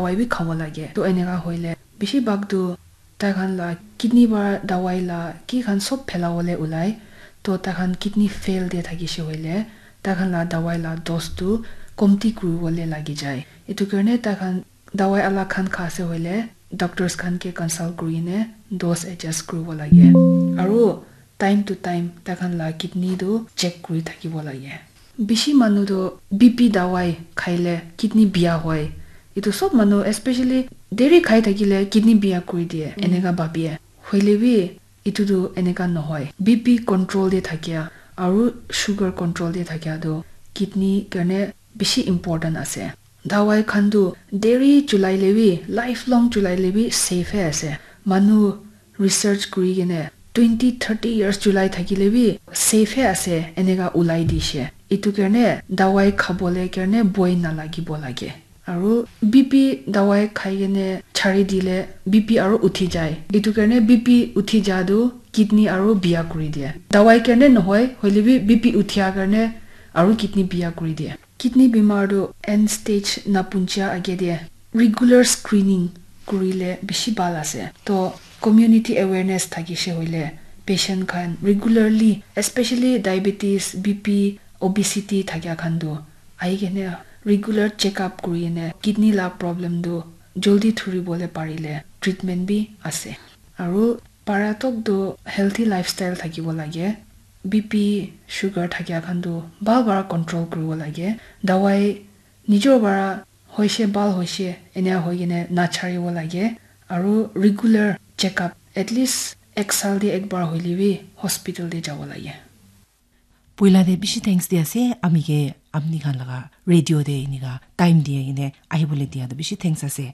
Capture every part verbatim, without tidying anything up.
dawai bi khabo lage. To eneka hoile bishi bhag tu tai khan la kidney para dawai la ki khan sob phelawole ulai. To tai khan kidney fail de thakishe hoile tai khan la dawai la dose tu komti kuriwole lagi jai. Etu karne tai khan dawai alak khan kha ase hoile doctors khan ke consult kuri kene dose adjust kuribo lage. Aru time to time tai khan la kidney tu check kuri thakibo lage. Bishi manu tu B P dawai khaile kidney biya hoi. Etu sob manu, especially dairy khai thakile kidney biya kuri diye, eneka bhabie. Hoile bi etu tu eneka nohoi. B P control de thakia aru sugar control de thakia tu kidney karne bishi important ase. Dawai khan tu dairy chulai le bi, lifelong chulai le bi safe he ase. Manu research kuri kene twenty, thirty years chulai thakile bi safe he ase, eneka ulai dishe. Etu karne dawai khabole karne boi nalagibo lage. Aru B P dawai khai kene chari dile B P aru uthi jai. Etu karne B P uthi ja tu kidney aru biya kuri diye. Dawai karne nohoi, hoile bi B P uthia karne aru kidney biya kuri diye. Kidney bimar tu end stage napunchia age de regular screening kurile bishi bhal ase. To community awareness thakishe hoile patient khan regularly, especially diabetes, B P, obesity thakia khan tu ahi kene regular check up kuri kene kidney la problem tu joldi dhuribole parile treatment bi ase. Aru para tok tu healthy lifestyle thakibo lage. B P, sugar thakia khan tu bhal para control kuribo lage. Dawai nijor para hoishe bhal hoishe enia hoi kene nacharibo lage. Aru regular check up, at least ek saal de ek bar hoile bi hospital de jabo lage. Puila de bishi thanks di ase, ami ke apni khan laga radio de inika time di kene ahibole dia tu bishi thanks ase.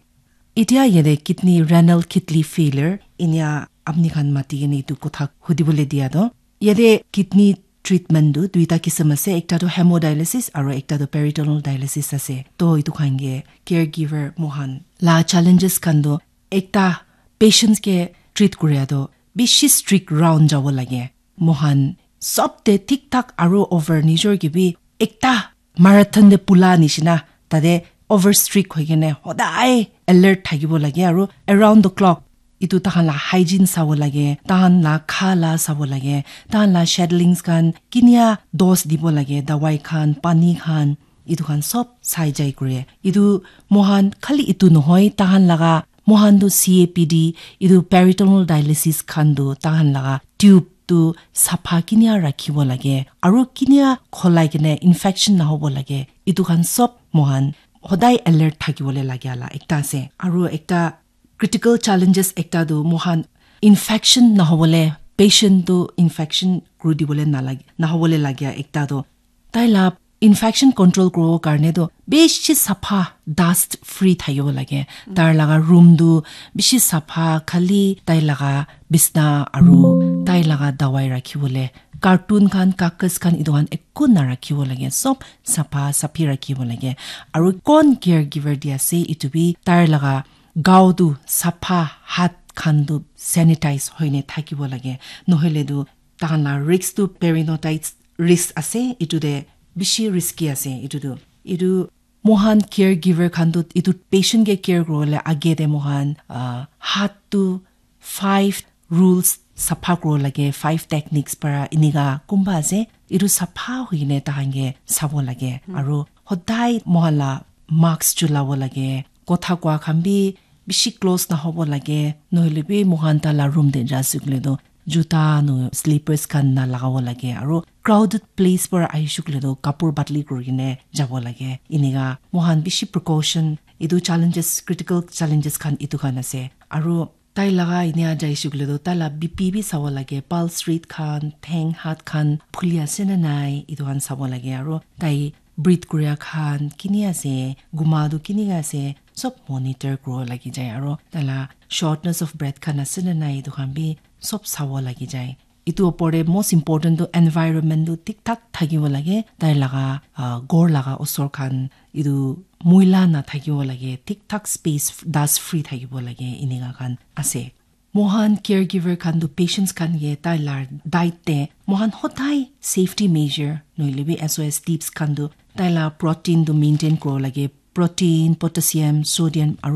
Etia yate kidney renal kidney failure inia apni khan mati kene etu kotha hudibole dia tu. Yate kidney treatment tu duita kisim ase, ekta tu hemodialysis aru ekta tu peritoneal dialysis ase. To etu khan ke caregiver mohan la challenges khan tu ekta patients ke treat kuria tu bishi strict round jabo lage. Mohan sob te thik thak aru over nijor ke bi ekta marathon te pula nishina tate over strict hoi kene hodai alert thakibo lage aru around the clock etu tahan la hygiene sabo lage, tahan la kha la sabo lage, tahan la schedulings khan kinia dose dibo lage, dawai khan, pani khan, etu khan sob sai jai kure. Etu mohan khali etu nohoi, tahan laga mohan tu C A P D, etu peritoneal dialysis khan tu tahan laga tube tu sapha kinia rakhibo lage aru kinia kholai kene infection nahobo lage, etu khan sob mohan hodai alert thakibole lage la ekta ase. Aru ekta critical challenges ekta tu mohan infection nahobole, patient tu infection kuri dibole nalage, nahobole lage ekta tu tai la infection control kuribo karne tu bishi sapha dust free thakibo lage. Tar laga room tu bishi sapha, khali tai laga bisna aru tai laga dawai rakhibole carton khan, kakas khan, etu khan ekku narakhibo lage, sob sapha saphi rakhibo lage. Aru kon caregiver di ase, etu bi tar laga gao tu sapha, hat khan tu sanitize hoine thakibo lage, nohoile tu tahan la risk tu peritonitis risk ase, etu te bishi risky ase. Etu tu etu mohan caregiver khan tu etu patient ke care kuribole age te mohan ah, hat tu five rules sapha kuribo lage, five techniques para enika kumba ase, etu sapha hoikene tahan ke sabo lage. Aru hodai mohan la mask chulabo lage, kotha koa khan bi bishi close nahobo lage, nohoile bi moikhan taila room te ja ase koile toh juta no slippers khan nalagabo lage, aro crowded place para ahishe koile toh kapur badli kurikene jabo lage. Enika moikhan bishi precaution, etu challenges, critical challenges khan etu khan ase. Aro tai laga enia jaishe koile toh taila B P bi sabo lage, pulse rate khan, theng hat khan phuli ase na nai, etu khan sabo lage. Aro tai breathe kuria khan kini ase, guma tu kinika ase, sob monitor kuribo lagi jai. Aro taila shortness of breath khan ase na nai, etu khan bi sob sabo lagi jai. Etu opor te most important tu environment tu thik thak thakibo lage. Tai laga, ah, ghor laga osor khan etu moila nathakibo lage, thik thak space, dust free thakibo lage, enika khan ase. Moikhan caregiver khan tu patients khan ke taila diet te moikhan hodai safety measure nohoile bi S O S tips khan tu taila protein tu maintain kuribo lage. Protein, potassium, sodium aro